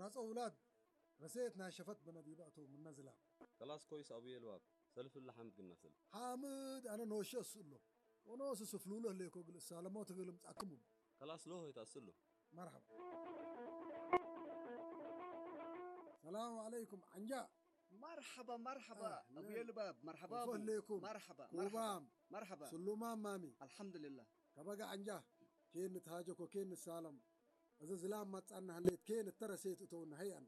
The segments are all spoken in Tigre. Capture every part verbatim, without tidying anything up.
ናጸ ውላድ ረሴት ናይ ሸፈት በነ ዲበ አተው ምነ ዝላም። ከላስ ኮይስ አቡዬ ልባብ፣ ሰልፍ እለ ሓምድ ግናስል። ሓምድ አነ ኖሼ እሱ እሎም ወኖሱ ስፍሉሉ ህሌኮ እግል እሳለሞት እግል እምጽአክሙ። ከላስ ሎሆይ ተአስሉ። መርሐባ። ሰላም ዐለይኩም ዐንጃ። መርሐባ መርሐባ። አህለን። አቡዬ ልባብ መርሐባ። ከፎ ህሌኩም። መርሐባ መርሐባ። ኩባም። መርሐባ። ስሉማም ማሚ። አልሐምዱሊላህ። ከበገ ዐንጃ ኬን ንትሃጀኮ ኬን ንሳለም። እዘ ዝላም መጽአነ ሀሌት ኬን እተ ረሴት እተውነ ሀይ አነ።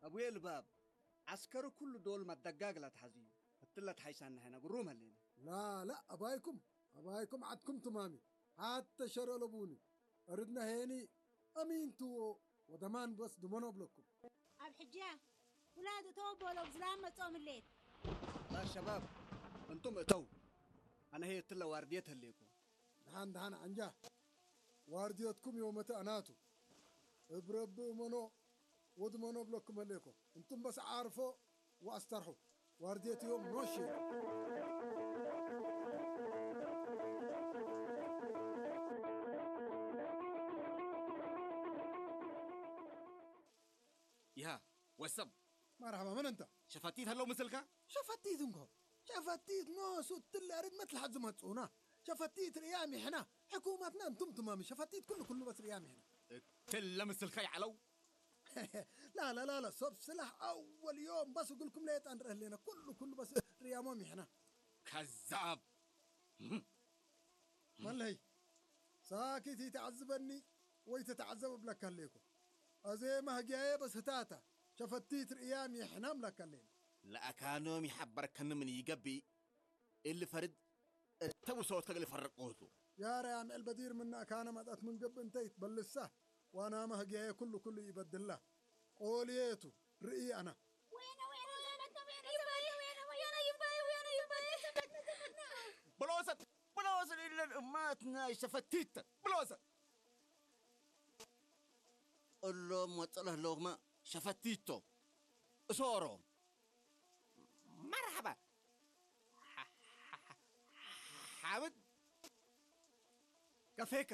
አቡዬ ልባብ፣ ዐስከሩ ኩሉ ዶል መደጋግ ለትሐዝዩ፣ እትለ ተሐይሳነ ሐይነ ግሩም ሀሌነ። ላ፣ ላ፣ አባይኩም፣ አባይኩም ዐድኩም ትማሚ፣ ሐተ ሸር አለቡኒ፣ እርድነ ሄኒ አሚን ቱ ወደማን በስ ድመኖ እብለኩም። አብ ሕጃ ውላድ እተው ቦለው ዝላም መጽኦም ህሌት። ላ ሸባብ፣ እንቱም እተው፣ አነ ህዬ እትለ ዋርድየት ህሌኮ። ደሐን ደሐን ዐንጃ፣ ዋርድየትኩም ዮመተ አናቱ። እብ ረቢ እመኖ ወድመኖ እብለኩም ህሌኮ። እንቱም በስ ዓርፎ ወአስተርሑ። ዋርድየት ዮም ኖሼ። ይሃ ወሰብ። መርሐባ፣ ምን እንተ? ሸፈቲት ሀለው ምስልከ? ሸፈቲት እንኮ። ሸፈቲት ኖሱ እትለ አርድመት ለሐድ ዝመጽኡና። ሸፈቲት ርእያም ይሕና። ሕኩመትና እንቱም ትማሚ። ሸፈቲት ኩሉ ኩሉ በስ ርእያም ይሕና። እትለ ምስልከ ይዐለው? ላ፣ ላ፣ ላ፣ ላ፣ ሰብ ስላሕ አወል ዮም በስ እግልኩም ሌጠ አንርአ ህሌነ። ኩሉ ኩሉ በስ ርእያሞም ይሕና። ከዛብ። መለሀይ፣ ሳኪት ኢተዐዝበኒ ወኢትትዐዘብ እብለከ ህሌኮ። አዜ መህግያዬ በስ ህታተ፣ ሸፈቲት ርእያም ይሕናም ለከ ህሌነ። ለአካኖም ይሐበርከኒ ምን ኢገብእ፣ እሊ ፈርድ እተ ብሶትከ እግል ፈርቁ ቱ። ያ ረያም ዕል በዲር ምነ አካነ መጽአት ምን ገብእ እንተ ኢትበልሳ፣ ዋናመ ህግያዬ ኩሉ ኩሉ ኢበድላ። ቆልዬ ቱ፣ ርእይ አነ። ወይነ ወይነ ዘመተ ወይነ ዘመተ ወይነ ወይነ ይባይ ወይነ ይባይ ዘመተ ዘመተ። ብሎሰት ብሎሰት እለን እማት ናይ ሸፈቲት ብሎሰት። እሎም ወጽእ ለህለውመ ሸፈቲት ቶም። እሶሮ። መርሐባ። ሓምድ። ከፌከ።